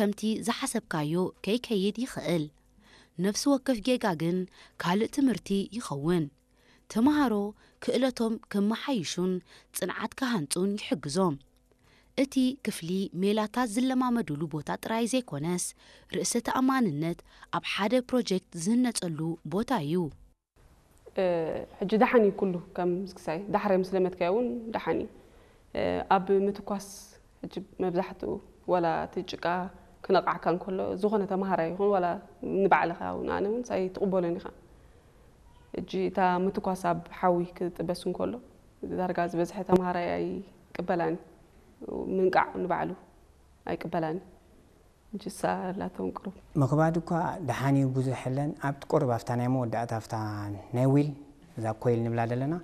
ከምቲ ዝሓሰብካዮ ከይከይድ ይኽእል። ነፍሲ ወከፍ ጌጋ ግን ካልእ ትምህርቲ ይኸውን። ተምሃሮ ክእለቶም ከመሓይሹን ጽንዓት ክሃንጹን ይሕግዞም። እቲ ክፍሊ ሜላታት ዝለማመዱሉ ቦታ ጥራይ ዘይኮነስ፣ ርእሰ ተኣማንነት ኣብ ሓደ ፕሮጀክት ዝህነጸሉ ቦታ እዩ። ሕጂ ደሓን እዩ ኩሉ፣ ከም ዝክሳይ ዳሕራይ ምስ ለመድካዮ እውን ደሓን እዩ። ኣብ ምትኳስ ሕጂ መብዛሕትኡ ዋላ እቲ ጭቃ ክነቕዓካ እንከሎ፣ ዝኾነ ተምሃራይ ይኹን ዋላ ንባዕልኻ እውን፣ ኣነ እውን ሳይ ትቕበሎን ኢኻ። ሕጂ እታ ምትኳስ ኣብ ሓዊ ክጥበስ እንከሎ፣ ዳርጋ ዝበዝሐ ተምሃራይ ኣይቅበላን እዩ። ምንቃዕ ንባዕሉ ኣይቅበላን እዩ። ሕጂ እሳ ኣላቶም ቅሩብ። ምኽባድ እኳ ደሓን እዩ ብዙሕ የለን። ኣብቲ ቁሩብ ኣብታ ናይ መወዳእታ ኣብታ ናይ ዊል፣ እዛ ኮይል ንብላ ዘለና፣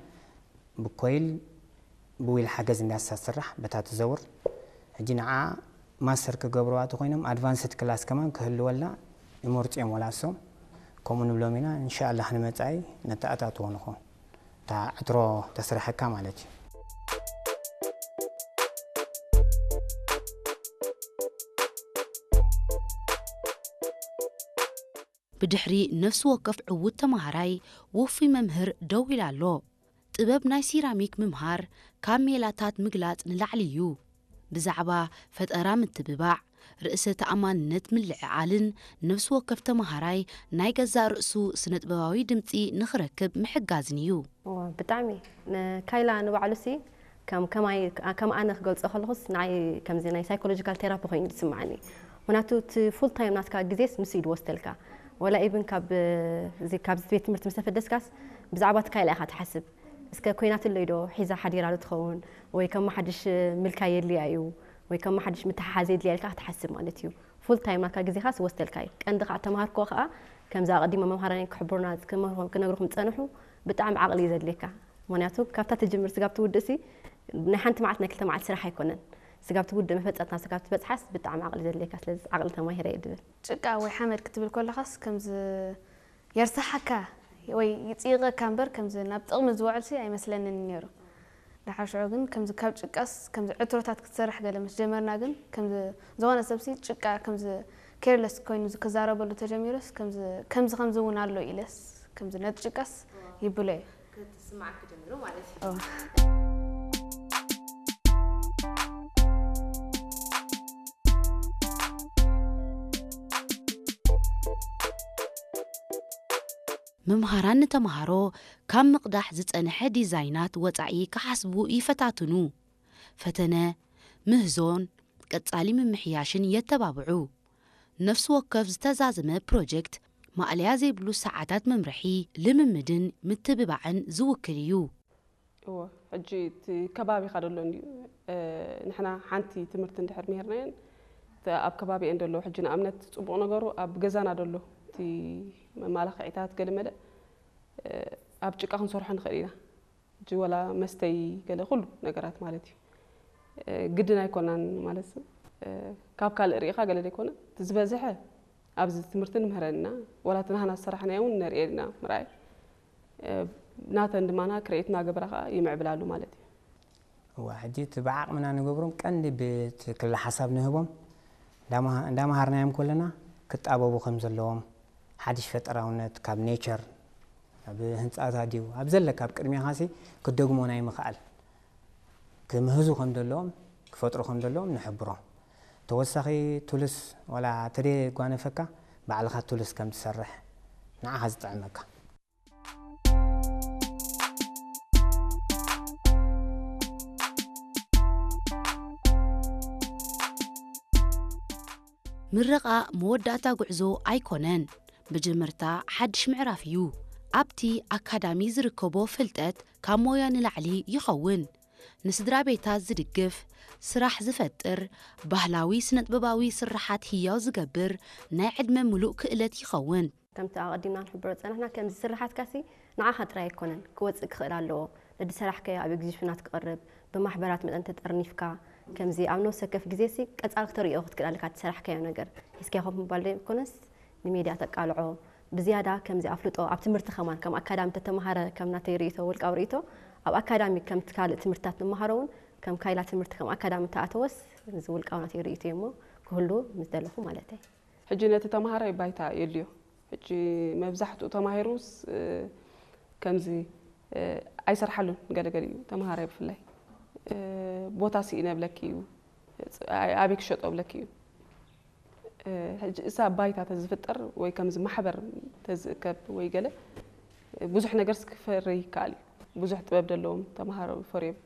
ብኮይል ብዊል ሓገዝ እንዲያ እሳ ትስራሕ በታ ትዘውር። ሕጂ ንዓ ማስተር ክገብርዋ ተኾይኖም ኣድቫንስድ ክላስ ከማን ክህልወላ ይመርጹ እዮም ወላ እሶም። ከምኡ ንብሎም ኢና። እንሻኣላህ ንመጻኢ ነተኣታትዎ ንኾን። እታ ዕትሮ ተስርሐካ ማለት እዩ። ብድሕሪ ነፍሲ ወከፍ ዕዉት ተመሃራይ ውፉይ መምህር ደው ኢሉ ኣሎ። ጥበብ ናይ ሲራሚክ ምምሃር ካብ ሜላታት ምግላጽ ንላዕሊ እዩ። ብዛዕባ ፈጠራ ምትብባዕ፣ ርእሰ ተኣማንነት ምልዕዓልን ነፍሲ ወከፍ ተመሃራይ ናይ ገዛእ ርእሱ ስነ-ጥበባዊ ድምጺ ንኽረክብ ምሕጋዝን እዩ። እወ፣ ብጣዕሚ። ንካይላ ንባዕሉሲ ከም ከማይ ከም ኣነ ክገልጾ ከለኹስ ንዓይ ከምዚ ናይ ሳይኮሎጂካል ቴራፒ ኮይኑ ዝስምዓኒ። ምክንያቱ እቲ ፉል ታይም ናትካ ግዜስ ንሱ እዩ ዝወስደልካ። ወላ ኢቭን ካብ እዚ ካብዚ ቤት ትምህርቲ ምስ ተፈደስካስ ብዛዕባ እቲ ካይላ ኢኻ ትሓስብ። እስከ ኮይናትለይ ዶ ሒዛ ሓዲራ ዶ ትኸውን ወይ ከም ሓድሽ ምልካይ የድልያ እዩ ወይ ከም ሓድሽ ምትሓሓዝ የድልያ ኢልካ ክትሓስብ ማለት እዩ። ፉል ታይም ናትካ ግዜኻስ ይወስደልካ እዩ። ቀንዲ ከዓ ተምሃርክዎ ከዓ ከምዚ ኣቐዲሞም መምሃራን ክሕብሩና ክነግሩኹም ዝፀንሑ ብጣዕሚ ዓቕሊ እዩ ዘድልየካ። ምክንያቱ ካብታ ትጅምር ስጋብ ትውድእሲ ናይ ሓንቲ መዓልቲ ናይ ክልተ መዓልቲ ስራሕ ኣይኮነን። ስጋብ ትውድእ መፈፀምታ ስጋብ ትበፅሓስ ብጣዕሚ ዓቕሊ ዘድልየካ። ስለዚ ዓቕሊ ተማሂረ እየ ድብል። ጭቃ ወይ ሓመድ ክትብል ከለኻስ ከምዚ የርሳሓካ ወይ ይፅይቐካ እምበር ከምዚ ናብ ጥቕሚ ዝውዕልሲ ኣይመስለንን ነይሩ። ደሓር ሽዑ ግን ከምዚ ካብ ጭቃስ ከምዚ ዕትሮታት ክትሰርሕ ገለ ምስ ጀመርና ግን ከምዚ ዝኾነ ሰብሲ ጭቃ ከምዚ ኬርለስ ኮይኑ ክዛረበሉ ተጀሚሩስ ከምዚ ከምዚ ከምዚ እውን ኣሎ ኢለስ ከምዚ ነቲ ጭቃስ ይብሎ እየ። ክትስማዓኪ ጀሚሩ ማለት እዩ። መምሃራን ንተምሃሮ ካብ ምቕዳሕ ዝጸንሐ ዲዛይናት ወጻኢ ክሓስቡ ይፈታትኑ። ፈተነ፣ ምህዞን ቀጻሊ ምምሕያሽን የተባብዑ። ነፍሲ ወከፍ ዝተዛዘመ ፕሮጀክት ማእለያ ዘይብሉ ሰዓታት መምርሒ፣ ልምምድን ምትብባዕን ዝውክል እዩ። እወ፣ ሕጂ እቲ ከባቢኻ ደሎ እንድዩ። ንሕና ሓንቲ ትምህርቲ እንድሕር ምሂርናየን እቲ ኣብ ከባቢኤን ደሎ፣ ሕጂ ንኣብነት ጽቡቕ ነገሩ ኣብ ገዛና ደሎ እቲ መማላኽዒታት ገለመለ ኣብ ጭቃ ክንሰርሖ ንኽእል ኢና። ሕጂ ወላ መስተይ ገለ ኩሉ ነገራት ማለት እዩ። ግድን ኣይኮናን ማለት ካብ ካልእ ርኢኻ ገለ ዘይኮነ እቲ ዝበዝሐ ኣብዚ ትምህርቲ ንምህረን ኢና። ወላ እቲ ናህና ዝሰራሕናዮ እውን ነርእየን ኢና ምርኣይ። ናተን ድማ ክሬኤት እናገበራ ከዓ ይምዕብላሉ ማለት እዩ። እዋ ሕጂ እቲ ብዓቕምና ንገብሮም ቀንዲ ብቲ ክለ ሓሳብ ንህቦም እንዳመሃርናዮም ከለና ክጣበቡ ከም ዘለዎም ሓድሽ ፈጠራውነት ካብ ኔቸር ኣብ ህንፃታት ድዩ ኣብ ዘለካ ኣብ ቅድሚኻ ሲ ክደግሞ ናይ ምኽኣል ክምህዙ ከም ዘለዎም ክፈጥሩ ከም ዘለዎም ንሕብሮም። ተወሳኺ ቱልስ ዋላ ተደየጓነፈካ ባዕልኻ ቱልስ ከም ትሰርሕ ንዓኻ ዝጥዕመካ። ምረቓ መወዳእታ ጉዕዞ ኣይኮነን፣ መጀመርታ ሓድሽ ምዕራፍ እዩ። ኣብቲ ኣካዳሚ ዝርከቦ ፍልጠት ካብ ሞያ ንላዕሊ ይኸውን። ንስድራ ቤታት ዝድግፍ፣ ስራሕ ዝፈጥር፣ ባህላዊ ስነጥበባዊ ስርሓት ህያው ዝገብር ናይ ዕድመ ምሉእ ክእለት ይኸውን። ከምቲ ኣቐዲምና ንሕብሮ ዝጸናሕና፣ ከምዚ ስርሓትካሲ ንዓኻ ጥራይ ኣይኮነን ክወጽእ ክኽእል ኣለዎ። ነቲ ዝሰራሕካዮ ኣብ ኤግዚቢሽናት ክቐርብ፣ ብማሕበራት መጠን ተጠርኒፍካ፣ ከምዚ ኣብ ነፍሲ ወከፍ ግዜሲ ቀጻሊ ክተርእዮ ክትክእል ኣለካ እቲ ዝሰራሕካዮ ነገር። ሒዝካዮ ኮፍ ምባል ዘይኮነስ ንሜድያ ተቃልዖ። ብዝያዳ ከምዚ ኣፍልጦ ኣብ ትምህርቲ ከማን ከም ኣካዳሚ ተተምሃረ ከም ናተይ ርእይቶ ውልቃዊ ርእይቶ ኣብ ኣካዳሚ ከምቲ ካልእ ትምህርትታት ንመሃሮ እውን ከም ካይላ ትምህርቲ ከም ኣካዳሚ ተኣተወስ እዚ ውልቃዊ ናተይ ርእይቶ እዩሞ ክህሉ ምስ ደለኹ ማለት እዩ። ሕጂ ነቲ ተምሃራይ ባይታ የድልዮ። ሕጂ መብዛሕትኡ ተማሂሩስ ከምዚ ኣይሰርሓሉን። ገለገሊኡ ተምሃራይ ብፍላይ ቦታ ስኢነ ብለኪ እዩ፣ ኣበይ ክሸጦ ብለኪ እዩ። ሕጂ እሳ ባይታ ተዝፍጠር ወይ ከምዚ ማሕበር ተዝእከብ ወይ ገለ ብዙሕ ነገር ክፈሪ ይከኣል እዩ። ብዙሕ ጥበብ ዘለዎም ተምሃሮ ፈርዮም